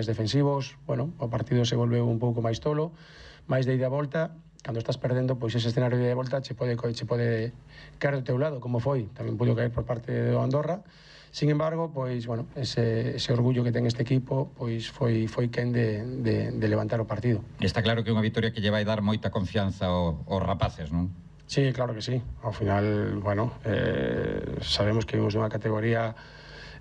defensivos, bueno, o partido se volve un pouco máis tolo, máis de ida e volta. Cando estás perdendo, pois ese escenario de ida e volta che pode caer do teu lado, como foi, tamén pudo caer por parte do Andorra. Sin embargo, pois, bueno, ese orgullo que ten este equipo, pois foi quen de levantar o partido. Está claro que é unha vitoria que lle vai dar moita confianza aos rapaces, non? Sí, claro que sí. Ao final, bueno, sabemos que vimos unha categoría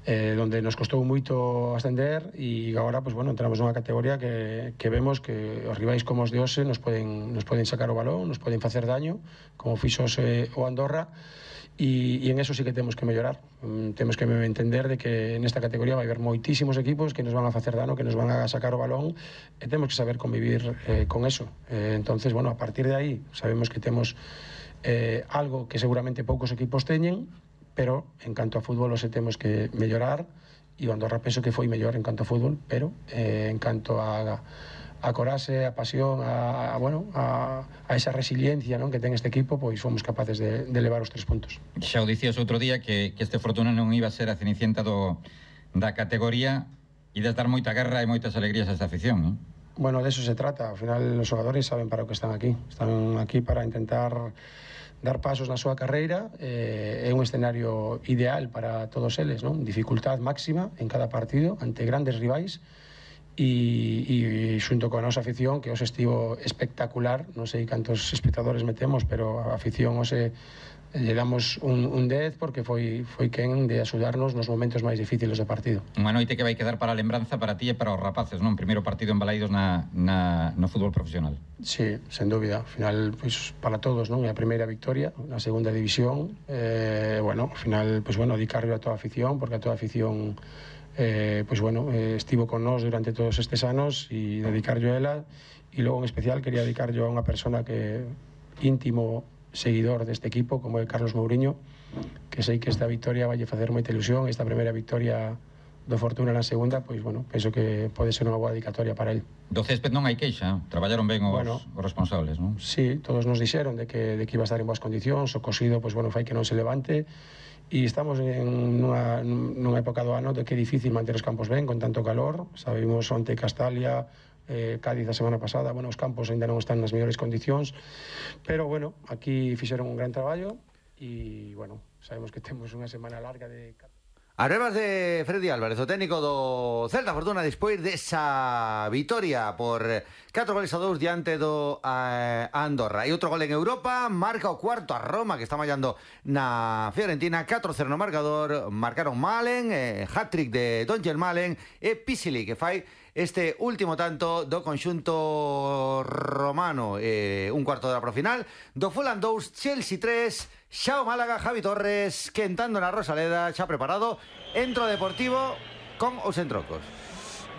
donde nos costou moito ascender e agora, pues bueno, entramos nunha categoría que vemos que os rivais como os de hoxe nos poden sacar o balón, nos poden facer daño, como fixos o Andorra, e en eso sí que temos que mellorar. Temos que entender de que nesta categoría vai haber moitísimos equipos que nos van a facer dano, que nos van a sacar o balón, e temos que saber convivir con eso. Entonces, bueno, a partir de aí sabemos que temos algo que seguramente poucos equipos teñen, pero en canto a fútbol se temos que mellorar, e o Andorra penso que foi mellor en canto a fútbol, pero en canto a coraxe, a pasión, a esa resiliencia, non, que ten este equipo, pois fomos capaces de levar os 3 puntos. Xa o dicías outro día que este Fortuna non iba a ser a cenicienta da categoría, e de dar moita guerra e moitas alegrías a esta afición, non? Bueno, de eso se trata. Ao final, os xogadores saben para o que están aquí. Están aquí para intentar dar pasos na súa carreira. É un escenario ideal para todos eles, non? Dificultad máxima en cada partido ante grandes rivais, e xunto coa nosa afición, que hoxe estivo espectacular. Non sei cantos espectadores metemos, pero a afición hoxe lle damos un 10 porque foi quen de axudarnos nos momentos máis difíciles do partido. Unha noite que vai quedar para a lembranza para ti e para os rapaces, non? Primeiro partido en Balaidos no fútbol profesional. Sí, sen dúbida. Ao final, pois, para todos, non? É a primeira victoria na segunda división. Bueno, ao final, pois, bueno, dedicarlo a toda a afición, porque a toda a afición pois, bueno, estivo con nós durante todos estes anos, e dedicarlo a ela. E logo, en especial, quería dedicarlo a unha persona que íntimo seguidor deste equipo, como é Carlos Mouriño, que sei que esta victoria vai facer moita ilusión. Esta primeira victoria do Fortuna na segunda, pois, bueno, penso que pode ser unha boa dedicatoria para él. Do césped non hai queixa, traballaron ben os responsables, non? Sí, todos nos dixeron de que iba a estar en boas condicións. O cosido, pois, bueno, fai que non se levante, e estamos en nunha época do ano de que é difícil manter os campos ben con tanto calor. Sabemos onte Castalia, Cádiz a semana pasada, bueno, os campos ainda non están nas mellores condicións, pero bueno, aquí fixeron un gran traballo, e bueno, sabemos que temos unha semana larga de... As brevas de Freddy Álvarez, o técnico do Celta Fortuna, despois desa vitoria por 4-2 diante do Andorra. E outro gol en Europa, marca o cuarto a Roma, que está mallando na Fiorentina. 4-0 no marcador, marcaron Malen, hat-trick de Donjel Malen, e Pisili, que fai este último tanto do conxunto romano. Un cuarto de hora pro final. Do Fulham 2, Chelsea 3, xa o Málaga, Javi Torres quentando na Rosaleda, xa preparado. Entro Deportivo con os entrocos.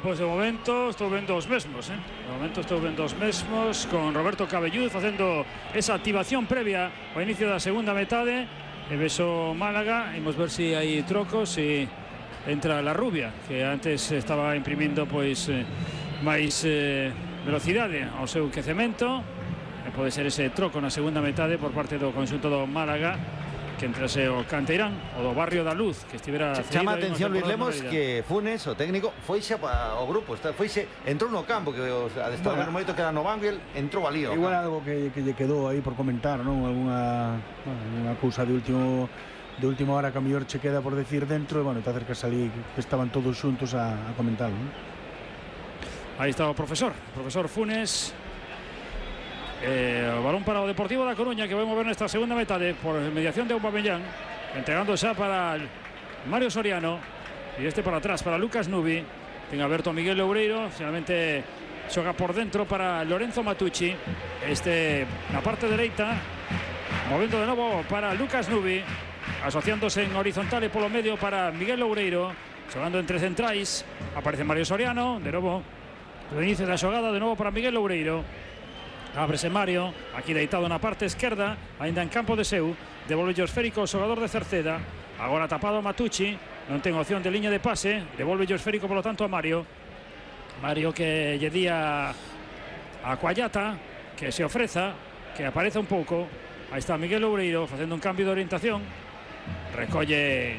Pois de momento estou vendo os mesmos, De momento estou vendo os mesmos, con Roberto Cabellud facendo esa activación previa ao inicio da segunda metade. E beso Málaga, imos ver se hai trocos, e entra la Rubia, que antes estaba imprimindo pois máis velocidade ao seu quecemento. Pode ser ese troco na segunda metade por parte do conxunto do Málaga, que entrase o Canteirán, o do Barrio da Luz, que estivera... Chama a atención, Luis Lemos, que Funes, o técnico, foixe ao grupo, entrou no campo, que os adestradores moito quedan no banco, e entrou ali. Igual algo que lle quedou aí por comentar, non? Unha cousa de última hora que a mellor che queda por decir dentro, e bueno, te acercas ali, que estaban todos xuntos a comentarlo, non? Aí está o profesor Funes. O balón para o Deportivo da Coruña, que vai mover nesta segunda metade por mediación de Aubameyang, entregando xa para Mario Soriano, e este para atrás para Lucas Nubi. Ten aberto a Miguel Loureiro, finalmente xoga por dentro para Lorenzo Matucci, na parte dereita, movendo de novo para Lucas Nubi, asociándose en horizontal e polo medio para Miguel Loureiro, xogando entre centrais. Aparece Mario Soriano, de novo do inicio da xogada, de novo para Miguel Loureiro. Ábrese Mario, aquí deitado na parte esquerda, ainda en campo de seu. Devolve o esférico o xogador de Cerceda. Agora tapado a Matucci, non ten opción de liña de pase. Devolve o esférico, polo tanto, a Mario. Mario que lle di a Cuallata que se ofreza, que apareza un pouco. Aí está Miguel Loureiro facendo un cambio de orientación. Recolle,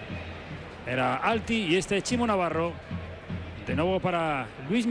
era Alti, e este Chimo Navarro. De novo para Luis